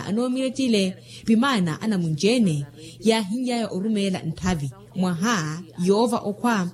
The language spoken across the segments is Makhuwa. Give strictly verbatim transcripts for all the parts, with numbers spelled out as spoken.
Anoomirettile pimaana anamunci-ene yaahinly'aya orumeela ntthavi mwaha yoova okhwa.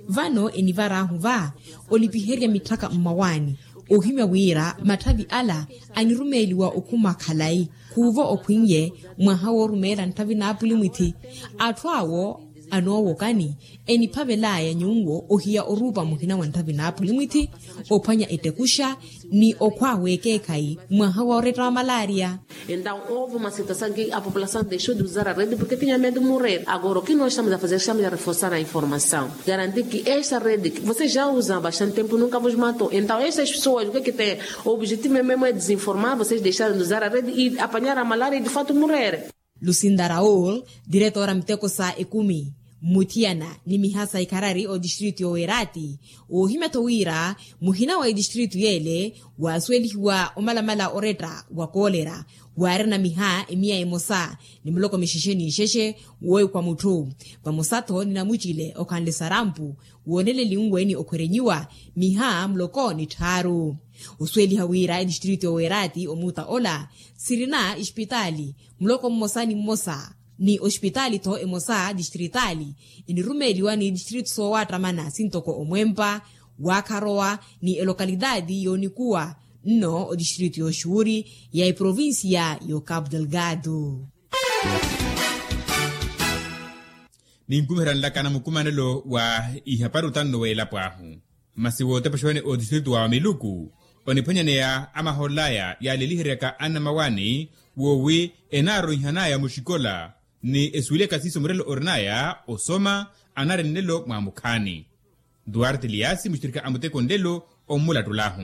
Vano enivar'ahu va olipiherya mitthaka mmawaani ohimya wira matthavi ala anirumeeliwa okhuma khalayi khuuvo okhwin'ye mwaha woorumeela ntthavi n'apulimwithi. Atthu awo anoowokani eniphavel'aya nyuwo ohiya oruupa muhina wa ntthavi n'apulimwithi ophwanya ettekuxa ni okhwa w'ekeekhayi mwaha wa oretta wa malaria. Entaw houve uma situação ki a população dexou de usar a rede porke tinha medo de morrer agora o ki nós estamos a fazer estamos a reforçar a informação garantir ki esta rede ki vocês já usam há bastante tempo nunca vos matou entaw estas pessoas o ki ki tem o objetivo mesmo é desinformar vocês dexaram de usar a rede e apanhar a malaria e de facto morrer. Lucinda raul, diretora miteko sa ekumi mmuthiyana ni miha sa ikharari otistritu y'owerati. Woohimya-tho wira muhina wa etistritu y'ele waasuwelihiwa omalamala oretta wa koolera waarina miha emiya emosa ni muloko mixexe n'ixexe wooikhwa mutthu vamosa-tho ni namucile okhanle sarampu wooneleliwe ni okhwerenyiwa miha muloko ni tthaaru. Osuweliha wira etistritu y'owerati omuuta ola sirina espitaali muloko mmosa ni mmosa ni ospitaali-tho emosa distritaali enirumeeliwa ni distritu soowattamana sintoko omwempa waakharowa ni elokalitaati yoonikuwa nno odistritu y'oxuuri ya eprovincia y'ocapo delgado. Ninkumiherya nlakana mukumanelo wa ihapari otanno w'elapo ahu masi wootepexewene otistritu wa miluku oniphwanyaneya amahool'aya yaaleliheryaka annamawaani woowi enaaronyihan'aya muxikola ni esuweliyaka siiso murelo orin'aya osoma anari nlelo mwaamukhaani. Duarte eliasi muxirikha a muteko nlelo ommulattul'ahu.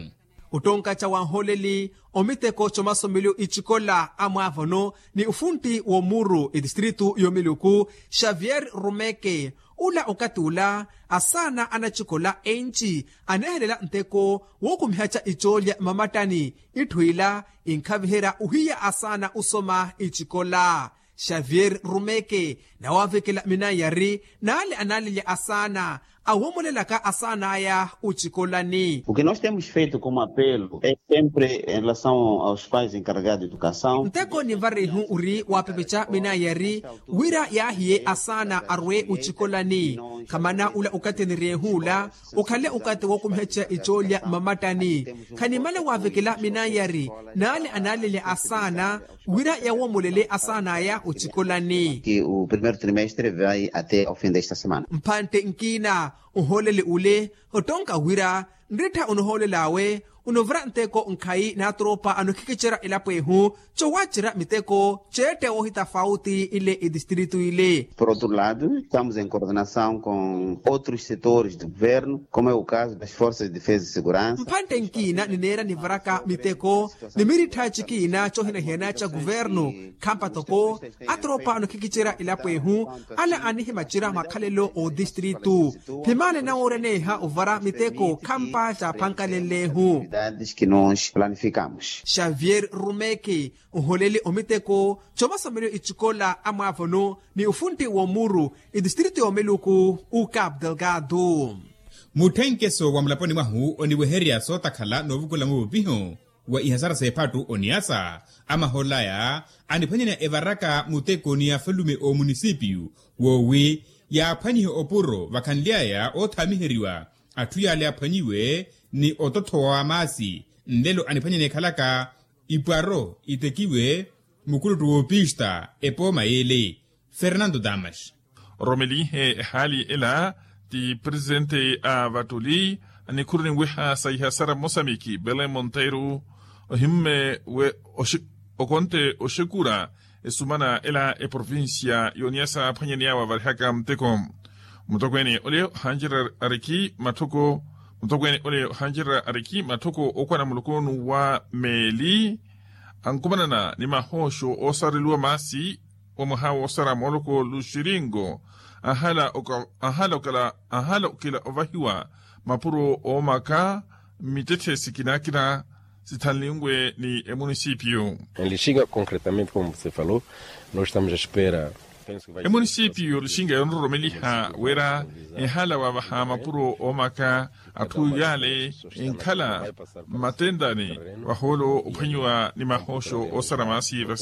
Ottonkaca wa nhooleli omiteko comasomeliyo icikola amwaavono ni ofuntti w'omuuru etistritu y'omiluku xavier rumeke ula okathi ula asaana anacikola enci aneehelela nteko wookumihaca icoolya mamattani itthu ila inkhaviherya ohiya asaana osoma icikola xavier rumeke nawavekela minanyari n'ale analelya asaana awoomolelaka asaan'aya ocikolani. O ki nós temos feito como apelo é sempre em relação aos pais encarregados de educação. Nteko nivarihu ori waapepeca minanyari wira yaahiye asaana arwe ocikolani khamana ula okathi aniryehu ula okhale okathi wookumiheca icoolya mmamattani khanimala waavekela minanyari n'ale analelya asaana wira yawoomolele asaan'aya ocikolani. Ki o primeiro trimestre vai até ao fim desta semana. Mphantte nkiina ohooleli ule ottonka wira nrittha onohoolel'awe onovira nteko nkhayi n'atropa anokhikicerya elapo ehu cowacerya miteko ceette woohitafauti ile etistritu ile. Por outro lado estamos em coordenação com outros setores do governo como é o caso das forças de defesa e segurança. Mphantte nkiina nineera nivaraka miteko ni mirittha cikiina coohinahiyana ca kuvernu khampa toko atropa anokhikicerya elapo ehu ala anihimacerya makhalelo otistritu phimale nawooreneha ovara miteko khampa caaphankalenlehu. Ki nós planificamos xavier rumeke oholeli omiteko comasomeliyo icikola amwaavono ni ofuntti w'omuuru etistritu y'omiluku ucapo delgado. Mutthenkeso wa mulaponi mwahu oniwehererya sootakhala noovukula muvupiho wa ihasara s'ephattu oniasa amahool'aya aniphwanyaniya evaraka muteko ni afalume oomunisipiyu woowi yaaphwanihe opuro vakhanly'aya oothaamiheriwa atthu yaale aphwanyiwe ni ototthowa wa maasi nlelo aniphwanyaniya ekhalaka ipwaro itekiwe mukuluttu woopista epooma y'ele. Fernando damas. Oromelihe ehaali ela ti presitente a vatuli anikhuru ninweha sa ihasara mmosamiki belen monteiro ohimme we okonte oxekura esumana ela eprovincia y'oniyasa aphwanyani awo avarihaka muteko. Mutokweene ole ohancererya ariki matthoko mutokweene ole ohancererya ariki matthoko okwana mulokonu wa meeli ankumanana ni mahooxo oosareliwa maasi wa mwaha woosara mooloko luxiringo anhala okela ovahiwa mapuro oomaka mmittetthe sikina-kina sithanlinwe ni emunisipiyu. Em lixinga concretamente como se falou nós estamos a espera. Emunisipiyu lixinga yoonroromeliha wira enhala wavaha mapuro oomaka atthu yaale enkhala mmatentani vahoolo ophwanyiwa ni mahooxo oosara maasi.